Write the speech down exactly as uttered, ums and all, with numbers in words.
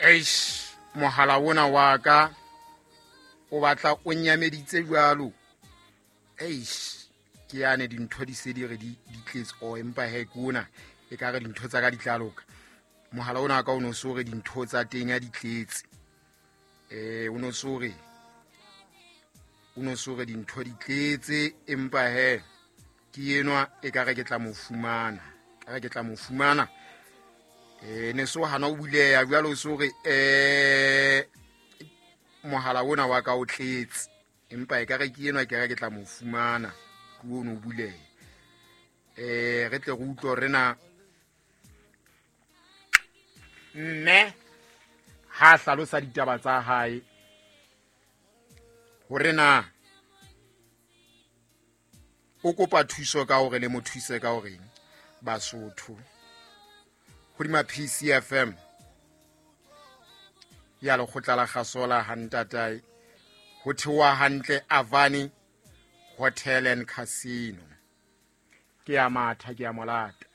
Eish, mohala ona wa ka o batla o nyameditse jwalo. Eish, ke yane dintho di se di re di di tletse. O empa he, ke ona e ka re dintho tsa ka di tla loka. Mohala ona wa ka o no so re dintho tsa teng a di tletse. Eh, o no so re o no so re dintho di tletse, empa he ke enwa e ka re ke tla mo fumana, ka re ke tla mo fumana. Eh, ne so hana o buleha jwalo, o so re eh mohala ona wa ka o tletse, empa e ka re ke enwa ke re ke tla mo fumana, ke ono o buleha. Eh, re tle re utlwe hore na mme ha hlalosa ditaba tsa hae hore na o kopa thuso ka hore le mo thuse ka horeng. Basotho, hodima P C F M ya lekgotla la Kgasola ha ntatae ho theoha hantle Avani Hotel and Casino. Ke ya matha, ke ya molata.